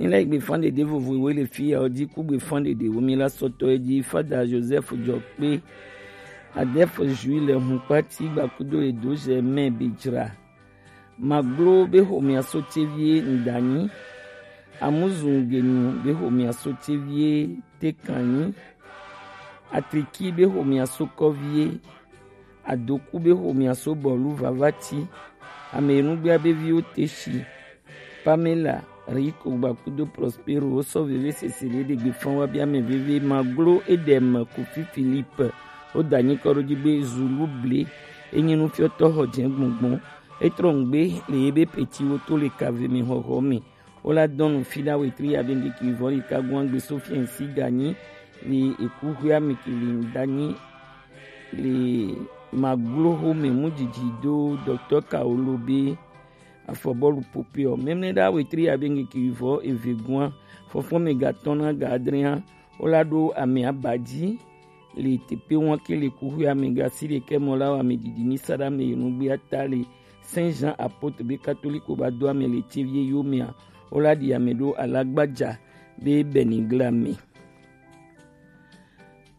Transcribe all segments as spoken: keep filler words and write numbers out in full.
Ni la gbe fan dede vovo we le fi ya o di ku gbe fan dede wo mi la sɔtɔ e di Fada Joseph Jɔkpe, Adolphe Jules Hunkpati gbakudo e do Germain Bejra. Maglo be xomia so tevie Ndanyi. Amuzungenu be xomia so tevie Tekanyi. Atriki be xomia so kɔvie. Adoku be xomia so bɔlu Vavati. Ame enugbea be viwo Teshi, Pamela, Riko gbakudo Prospero wo sɔ veve sese le ɖe gbe fan wa bia mɛ veve. Maglo Edem Kofi Philippe wo da nyi kɔ ɖo dzi be Zulu ble enyi nufiɔtɔ xɔ jɛ gbɔngbɔn. Etrɔ ŋgbe le ye be peti wo to le kave mi xɔxɔ mi. Wo la dɔn nu fi ɖa wetri ya be ŋgeki vɔ le ka gwan gbe Sofiɛn si ganyi le eku xwe ami ke le ŋdanyi le Maglo xome mu didi do Dɔktɔ Kaolo be afɔbɔlu popeɔ. Mɛmlɛ ɖa wetri ya be ŋgeki vɔ eve gwan fɔfɔ mi gatɔn na ga adrɛa. Wo la ɖo ame abadzi le tepe wan ke le kuxu ame gasi ɖekɛ mɔ la wa ame didi mi sa ɖa ame yenu gbe ata le Saint Jean Apôtre be katoliko ba do ame le tevie yo mea. Wo la ɖi ame ɖo alagbaja be bɛnigla me.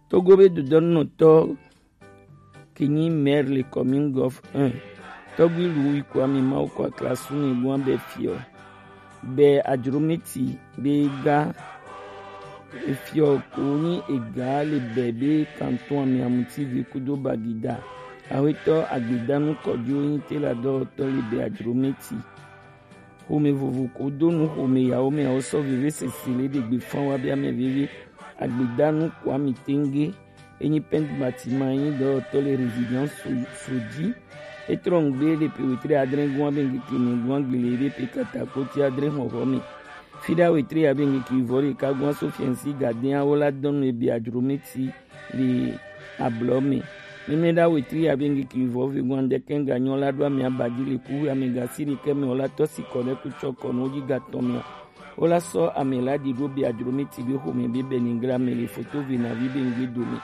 Togo be dodɔnunɔtɔ ke nyi maire le commune Golf un, Tɔgbi Louis Kwame Mawu kɔ aklasu ne gwan bɛ fiɔ. Bɛ Adromiti be ga efiɔ ko nyi ega le bɛ be kanton ami amuti ve kudo bagida. Awetɔ agbedanu kɔdiwo nyi te la dɔwɔtɔ le bɛ Adromiti. Xome vovo ko do nu xome yawo mɛ awo sɔ veve sese le ɖe gbe fan wa bia mɛ veve. Agbedanu Kwame Tenge enyi pɛnti batima enyi dɔwɔtɔ le résidence Soji. Etrɔ ŋgbe le pe wetre adre gwan be ŋgeke ne gwan gbele be pe kata koti adre xɔxɔ me. Fi ɖa wetre ya be ŋgeke vɔ ɖeka gwan Sofiɛnsi gadea wo la dɔnu ebe Adromiti le ablɔ me. Mɛmlɛ ɖa wetri ya be ŋgeke vɔ ve gwan ɖekɛ ga nyɔ la ɖo ame abadi le kuxu ame gasi ɖekɛ me wo la tɔ si kɔ ɖe kutsɔ kɔ no dzi gatɔ mea. Wo la sɔ ame la ɖi ɖo be Adromiti be xome be bɛnigla me le foto ve na vi be ŋgbe dome.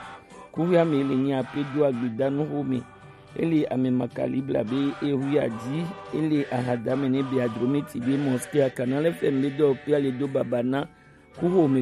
Kuxu ame le nyi ape do agbedanu xome. Ele ame makalibla be ehu ya dzi. Ele ahadame ne be Adromiti be mosquée a Canal F M be dɔ kpia le do baba na kuxu